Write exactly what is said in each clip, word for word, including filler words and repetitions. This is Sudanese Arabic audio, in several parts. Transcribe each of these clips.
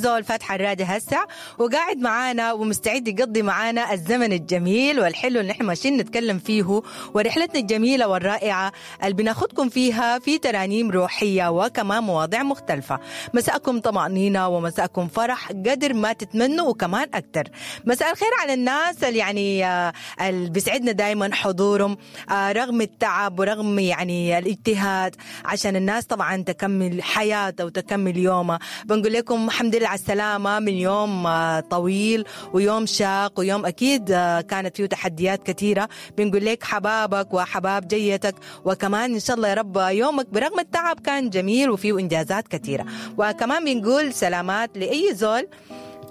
زول فاتح الراديو هسه وقاعد معانا ومستعد يقضي معانا الزمن الجميل والحلو اللي احنا ماشيين نتكلم فيه، ورحلتنا الجميلة والرائعة اللي بناخدكم فيها في ترانيم روحية وكمان مواضيع مختلفة. مساءكم طمأنينة ومساءكم فرح قدر ما تتمنوا وكمان أكتر. مساء الخير على الناس اللي يعني آه، اللي بيسعدنا دايما حضورهم آه، رغم التعب ورغم يعني الاجتهاد عشان الناس طبعا تكمل حياتها وتكمل يومها. بنقول لكم الحمد لله على السلامة من يوم آه، طويل ويوم شاق ويوم أكيد آه، كانت فيه تحديات كثيرة. بنقول لك حبابك وحباب جيتك، وكمان إن شاء الله يا رب يومك برغم التعب كان جميل وفيه إنجازات كثيرة. وكمان بنقول سلامات لأي زول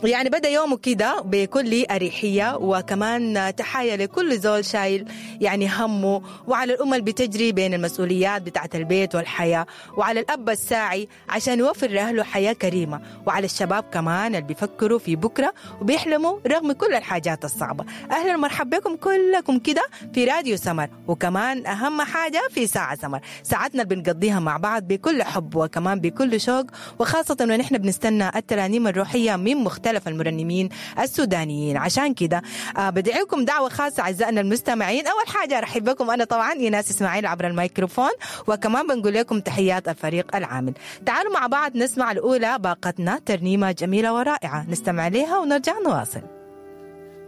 يعني بدأ يومه كده بكل أريحية، وكمان تحايا لكل زول شايل يعني همه، وعلى الأم اللي بتجري بين المسؤوليات بتاعت البيت والحياة، وعلى الأب الساعي عشان يوفر لأهله حياة كريمة، وعلى الشباب كمان اللي بيفكروا في بكرة وبيحلموا رغم كل الحاجات الصعبة. أهلا ومرحبا بكم كلكم كده في راديو سمر، وكمان أهم حاجة في ساعة سمر، ساعتنا اللي بنقضيها مع بعض بكل حب وكمان بكل شوق، وخاصة ونحن بنستنى الترانيم الروحية من مختلف المرنمين السودانيين. عشان كده آه، بدعيكم دعوة خاصة أعزائنا المستمعين. أول حاجة أرحب بكم أنا طبعا إيناس إسماعيل عبر الميكروفون، وكمان بنقول لكم تحيات الفريق العامل. تعالوا مع بعض نسمع الأولى باقتنا ترنيمة جميلة ورائعة نستمع لها ونرجع نواصل.